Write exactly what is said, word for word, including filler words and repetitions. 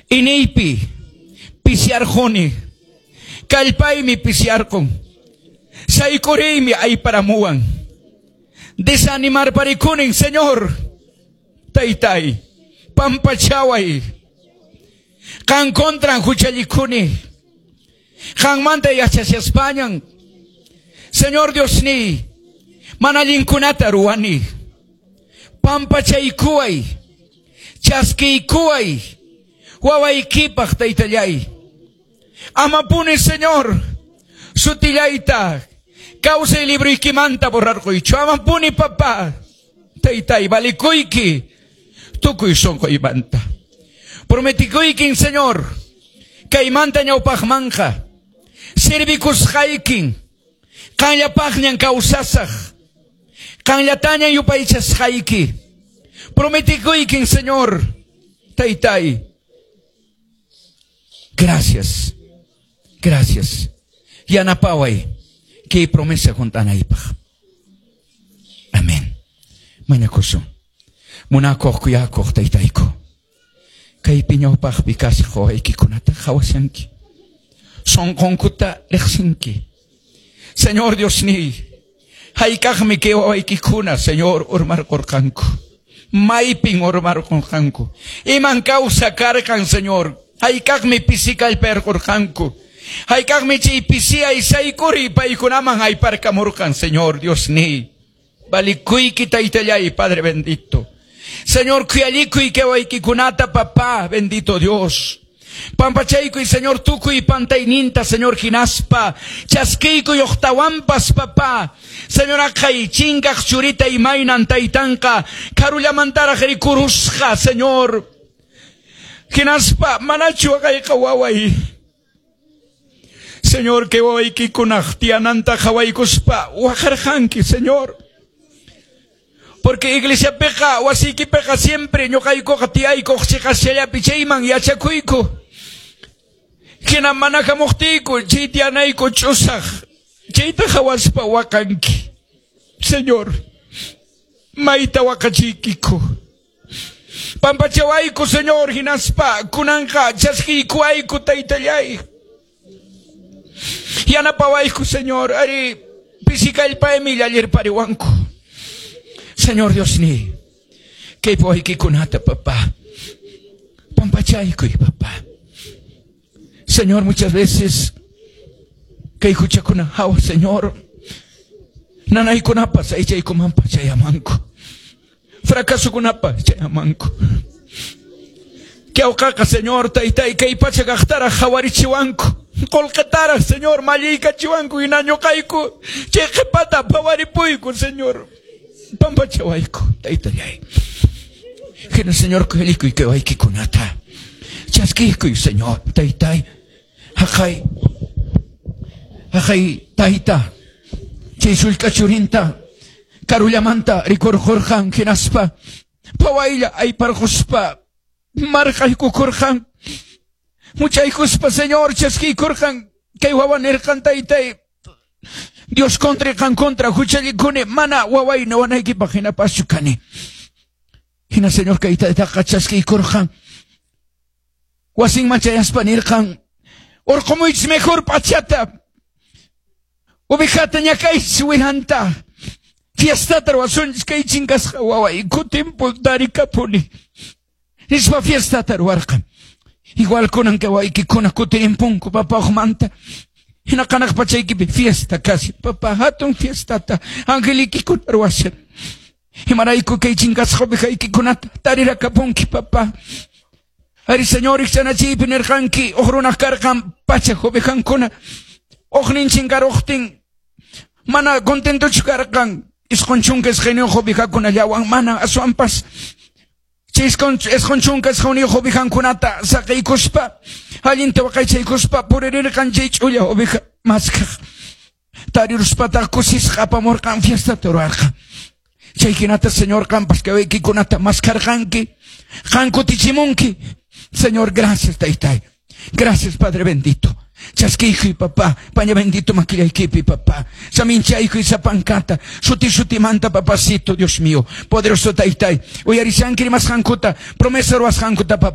Iñiypi pisiyarquni. Kallpaymi pisiyarqun. Sayk'uriymi ayparamuwan. Desanimarparikunin, Señor. Taytay, pampachaway. Qan contran huchallikuni. Qanmanta yachashaspañan. Señor Diosniy, mana allinkunata ruwani. Pampachaykuway. Chaskiykuway. Wawaykipaq taytallay. Amapuni, Señor, sutillayta kawsay libroykimanta borrarquychu. Amapuni, papá. Taytay, valikuyki tukuy sunquymanta. Prometikuykin, Señor, kaymanta ñawpaqmanqa servikusqaykin qanllapaqñan kawsasaq qanllatañan yupaychasqayki. Prometikuykin, Señor, taytay. Gracias. Gracias. Yanapaway kay promesa hunt'anaypaq. Amén. Mañakusun. Munakuq kuyakuq taytayku. Kaypi ñawpaqpi kashaq wawaykikunata qhawashanki. Sunqunkuta riqsinki. Señor Diosniy, hayk'aqmi kay wawaykikuna, Señor, urmarqurqanku. Maypin urmarqurqanku. Iman kawsa karqan, Señor. Hayk'aqmi pisi kallpayarqurqanku. Hayk'aqmi chay pisiyay sayk'uriy paykunaman ayparkamurqan, Señor Diosniy. Valikuyki taytallay, Padre bendito. Señor, khuyallikuy kay wawaykikunata, papá, bendito Dios. Pampachaykuy, Señor, tukuy pantayninta, Señor, hinaspa. Chaskiykuy uqtawanpas, papá. Señor, aqhay chinkaq churita imaynan taytanqa karullamantaraq rikurusqa, Señor. Hinaspa, manachu aqhayqa waway. Señor, kay wawaykikunaq tiyananta qhawaykuspa waqarqanki, Señor. Porque iglesiapiqa, wasiykipiqa siempre ñuqaykuqa tiyaykuq chiqasllapi chayman yachakuyku. Hina mana hamuqtiyku chay tiyanayku ch'usaq. Chayta qhawaspa waqanki. Señor, mayta waqachiykiku. Pampachawayku, Señor, hinaspa kunanqa chaskiykuwayku taytallay. Yanapawayku, Señor, ari pisi kallpaymi llallirpariwanku. Señor Diosniy, kay wawaykikunata, papá. Pampachaykuy, papá. Señor, muchas veces kay huchakuna hawa, Señor. Nanaykunapas aychaykumanpas chayamanku. Fracasokunapas chayamanku. Kawqaqa, Señor, taytay, kay pacha kaqtaraq qhawarichiwanku. Qullqitaraq, Señor, malliykachiwanku hina ñuqayku. Chay qhipata phawaripuyku, Señor. Pampachawayku, taytallay. Hina, Señor, khuyallikuy kay wawaykikunata. Chaskiykuy, Señor, taytay. Haqay, haqay, tayta. Chay sullk'a churinta karullamanta rikurqurqan hinaspa phawaylla ayparquspa marqaykukurqan. Muchaykuspa, Señor, chaskiykurqan. Kay wawa nirqan, taytay. Dios contra qan contra huchallikuni mana waway wanaykipaq hinapaschu kani. Hina, Señor, kay taytaqa chaskiykurqan. Wasinman chayaspa nirqan, urqumuychis mejor p'achata. Ovejata ñakaychis wiranta. Fiestata ruwasunchis kay chinkasqa waway kutinpun tarikapuni. Nispa fiestata ruwarqan. Igual kunan kay wawaykikuna kutirimpunku papá uqmanta. Hina hanaq pachaykipi fiesta casi. Papá, hatun fiestata angelikikuna ruwashan. Imarayku kay chinkasqa ovejaykikunata tarirakapunki, papá. Ari, Señor, rikchanachiypi nirqanki huk runaq karqan pachak ovejankuna. Huknin chinkaruqtin mana contentochu karqan isqun chunka isqayniyuq ovejakunallawan mana aswanpas chay isqun chunka isqayniyuq ovejankunata saqiykuspa allinta waqaychaykuspa puririrqan chay ch'ulla oveja maskaq. Tariruspataq kusisqa apamurqan fiestata ruwarqan. Chay hinata, Señor, qampas kay wawaykikunata maskarqanki. Qan kutichimunki. Señor, gracias, taytay. Gracias, Padre bendito. Chaskiykuy, papá, paña bendito makillaykipi, papá. Saminchaykuy sapankata, suti sutimanta, papacito, Dios mío. Poderoso taytay. Uyarishanki rimasqankuta, promesa ruwasqankuta, papá.